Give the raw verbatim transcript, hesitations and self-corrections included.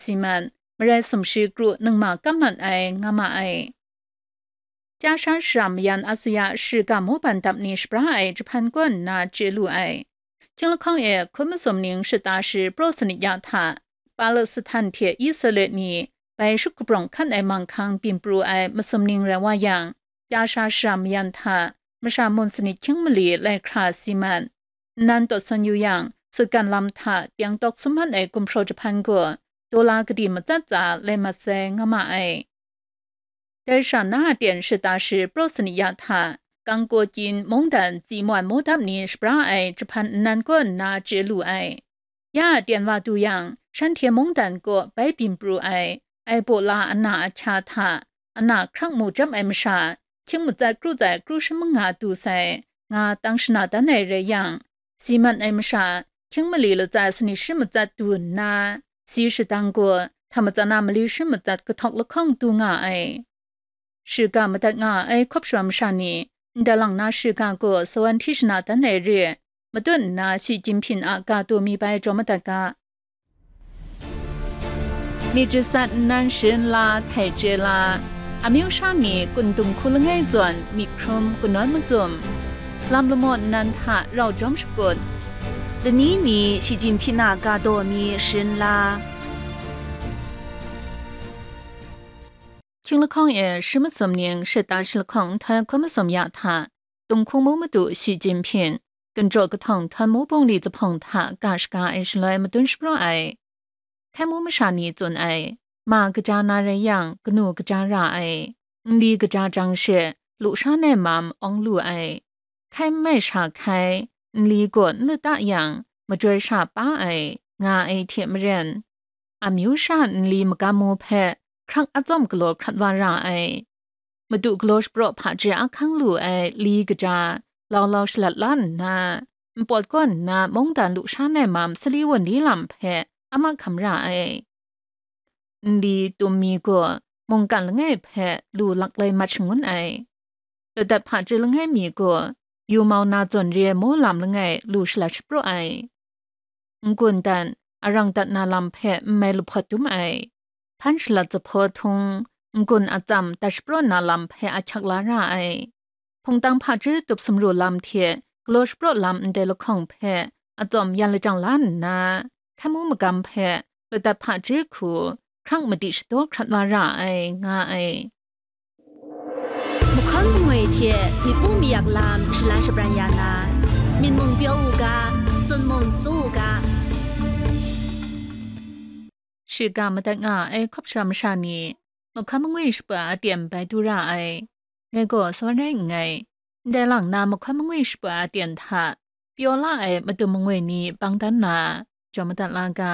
si mat, marai sumshi kru ningma kam mat ai, nga ma ai. Chya sha shara mayan asuya shiga mobile dap ni shabra ai jahpan kaw nna chye lu ai. Hkying lahkawng e hkun masum ning shata shi praw sanit ya hta, Palestan hte Israel ni bai shut kabrawng hkan ai manghkang byin pru ai masum ning rai wa yang, chya sha shara mayan hta, masha mun sanit hkying mali lai hkra si mat. Nnan taw sawn yu yang, sutgan lam hta teng tawk sum man ai gumhpraw jahpan gaw, dola kadi matsat tsa lai mat sai, nga ma ai. Dai sha na a ten shata shi praw sanit ya hta, kangkaw kyin mungdan tsi mwan mawdap ni shabra ai jahpan nnan kaw nna chye lu ai. Ya a ten wa du yang, shanhte mungdan kaw bai byin pru ai, ai baw la ana ahkya hta, ana hkrang mu chyam ai masha, hkying matsat kru tsai kru shi manga du sai, nga tang shana dan ai rai yang, si mat ai masha, hkying mali latsa sanit shi matsat du nna, si shadang gaw, hta matsan a mali shi matsat kahtawk lahkawng du nga ai. Shiga madat nga ai hkawp shawa masha ni, ndai lang na shiga gaw sawan hti shana dan ai re, matut nna shi Jinhping a ga taw mi bai jaw madat ga. Myit jasat nnan sharin la, htai chye la, amyu sha ni kun dung hku langai zawn myit hkrum kanawn macum, lam lamaw nnan hta rau jawm shakut, lani mi shi Jinhping a ga taw mi sharin la. Hkying lahkawng e shi masum ning shata shi lahkawng nhtoi hkun masum ya hta, Tunghkung mu madu shi Jinhping, ginjaw kahtawng htawn mu bungli zahpawng hta ga shaga ai shaloi madun shapraw ai. Hkai mu masha ni tsun ai, ma kaja na rai yang, kanu kaja ra ai, nli kaja jang she, lusha nai mam awng lu ai, hkai n mai sha hkai, nli gaw n lata yang, majoi sha pa ai, nga ai hte maren, amyu sha nli magam mu hpe hkrak atsawm galaw hkrat wa ra ai. Madu galaw shapraw hpaji ahkang lu ai li kaja, lau lau shalat la nna, npawt kaw nna mungdan lusha nai mam sali wunli lam hpe a mahkam ra ai. Nli tum mi gaw mungkan langai hpe lu laklai mat shangun ai. Ladat hpaji langai mi gaw yu mau na zawn re ai mu lam langai lu shalat shapraw ai. N-gun dan, arang dat na lam hpe n mai lahpawt dum ai. Hpan shalat zahpaw htung, n-gun atsam dat shapraw na lam hpe ahkyak la ra ai. Hpungtang hpaji tup sumru lam hte galaw shapraw lam ndai lahkawng hpe atsawm yan lajang la nna, hkai mu magam hpe ladat hpaji hku hkrang madi shadaw hkrat wa ra ai, nga ai. Mahkawn mangwi hte myit pu mayak lam shalan shabran ya na, myit mung pyaw u ga, sun mung su u ga. Shiga madat nga ai hkawp sha masha ni, mahkawn mangwi shapa aten bai du ra ai. Ngai gaw sa rai nngai. Ndai lang na mahkawn mangwi shapa aten hta pyaw la ai madum mangwi ni bang dan na, jaw madat la ga.